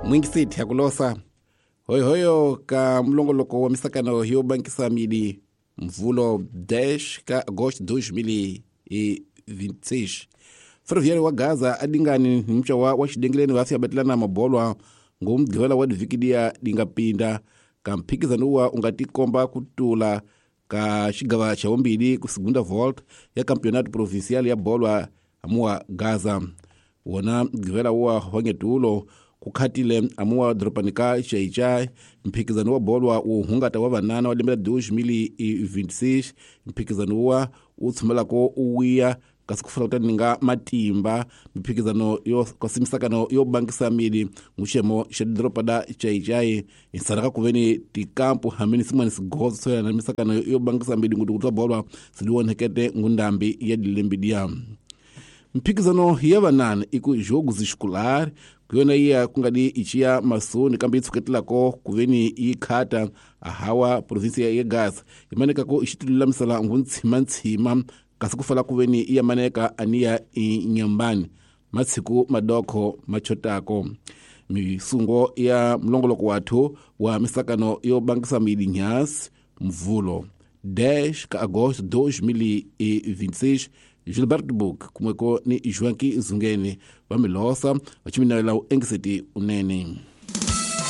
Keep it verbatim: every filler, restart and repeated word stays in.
Mwingisiti ya kulosa hoyohoyo ka mulongoloko wa misakano yo bankisa midi mvulo dez ka agosto dois mil e vinte e seis. Ferroviário wa Gaza adingani ni mcha wa wa xidengeleni va fika batlana mabolwa ngomgqivela wa divhiki liya dingapinda ka mphikizano wa u nga tikomba ku tula ka xigava xa vumbili ku segunda volta ya campeonato provincial ya bolwa amuwa Gaza. Wona mgqivela wa wangetulo ku khatile amuwa doropani ka Xai-Xai mphikizano wa bolwa wu hungata wa vanana wa lembe la dois mil e vinte e seis mphikizano wa wu tshumelako u wiya kasi ku fana kutani nga matimba mphikizano yo kasi misakano yo bangisa mili nguxemo xa doropa da Xai-Xai insaraka ku veni tikampu hamini sin'wana swigozo swo yelana na misakano yo bangisa mili nguti ku twa bolwa swi ngundambi ya dilembe diya. Mphikizano ya vanana i ku jogos escolar ku yona iya ku nga di ichiya masoni kambe yi tshuketelako ku veni yi khata ahawa provinsia ya Gaza yi manekako i xi tilulamisela nguntshimantshima kasi ku fala ku veni iya maneka aniya inyambani matshiku madokho machotako. Misungo ya mulongoloko wathu wa misakano yo bangisa mili nyasi mvulo dez ka agosto dois mil e vinte e seis. Gilberto Book kumweko ni Joaquim Zungeni va milosa va chiminela u engiseti unene.